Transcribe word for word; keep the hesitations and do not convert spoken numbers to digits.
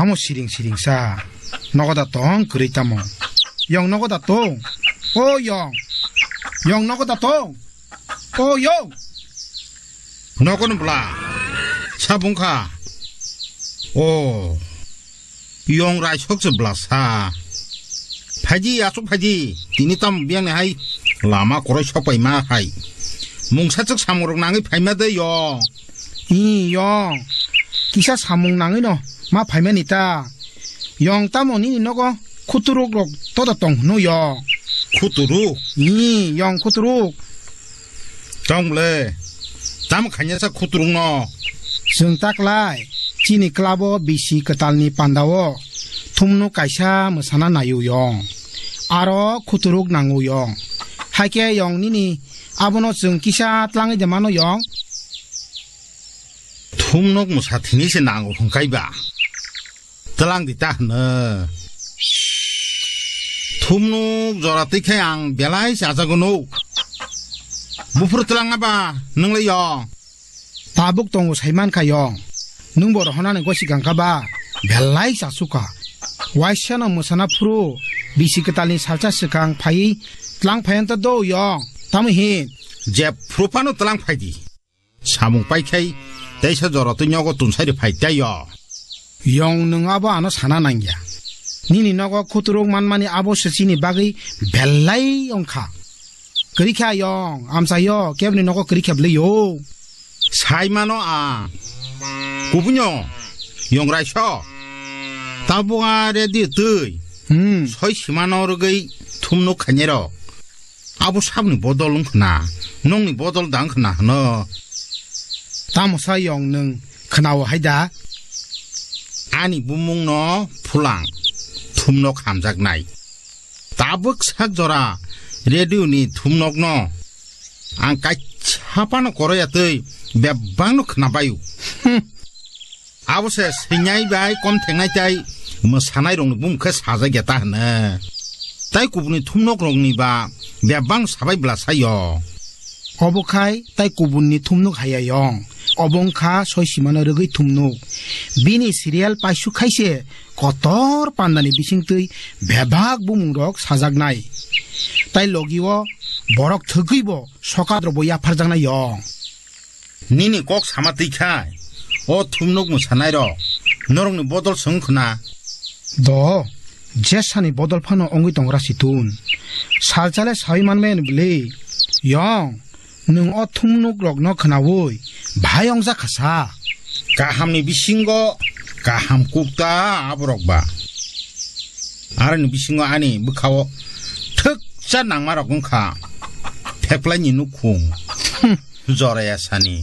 Amo siring siring sa. Nogo da tong kwrwi tamo. Yong nogo da tong. O Yong. Yong nogo da tong. O Yong. Nogo no bla. Sa bung kha. O. Yong raisok se bla sa. Phaidi, aswk phaidi. Tini tam biyang ni hai lama kwrwi sok pai ma hai. Mungsa chwk samung rok nangwi phaima de Yong. I Yong. Kisa samung nangwi no ma phaimani ta. Yong tamo nini nogo khuturuk rok todo tong hwno Yong. Khuturuk? I Yong khuturuk. Tong le. Tam khanya sa khuturuk no. Chwng taklai chini club o bisi kwtal ni panda o thumnuk kaisa mwsana naio Yong. Aro khuturuk nango Yong. Haikhe Yong nini abono chwng kisa tlangwi de mano Yong. Thumnok mwsa thini se nango hwnkhe ba. Tlang di ta hwno. Thumnok jora twi khe ang belai chajago nuk. Buphuru tlang aba nwngle yo. Tabuk tongo sai man kha yo. Nwng bo rohonani gosi gangkha ba belai chasukha. Waisa no mwsana phuru bisi kwtalni salsa swkang phai tlang phai anta do yo. Tamo hin. Jeb phuru phano tlang phai di. Samung pai khai teisa jora twi nogo tunsai ri phai tei yo. Yong nwng abo ano sana nangya. Nini nogo khuturuk manmani abo se chini bagwi belai wngkha. Kwrwi kha yong, amsa yo, kebni nogo kwrwi khe bwlwi yo. Sai mano a. Kubunyo, yong raiso. Tabuk a ready twi. Hmm. Soi simano rwgwi thumnuk khainai rok. Abo sabni bodol wng khna, nokni bodol da wng khna hwno. Tamo sa yong nwng khna-o hai da? Ani bumung no phulang, thumnok hamjaknai. Tabuk sak jora radio ni thumnok no ang kaisa phano koroya twi bebak no khna bai-o. Hmm. Abo se swinai bai kom thengnai tai mwsanai rokni bumung khe sajak ya ta hwno. Tai kubuni thumnok rokni ba bebak sabai bwla saio. Obo khai tai kubunni thumnok haya yong. Obo wngkha soi simano rwgwi thumnok. Bini serial paisuk khai se kotor pandani bisingtwi bebak bumung rok sajaknai. Tai logi o borok thwgwi bo sokat rok bo yapharjaknai yong. Nini kok sama twi khai, o thumnok mwsanai rok norokni bodol se wng khna. Do, jesani bodol phano wngwi tongra situn. Salchale sawi manmani bwlwi. Yong, nwng o thumnok rokno khnaui bhai wngjak kha sa. Kahamni bisingo kaham kukta aborok ba. Aroni bisingo ani bwkhao thwkcha nangma rok wngkha. Pheplaini nukhung. Hmm. Joraya sani.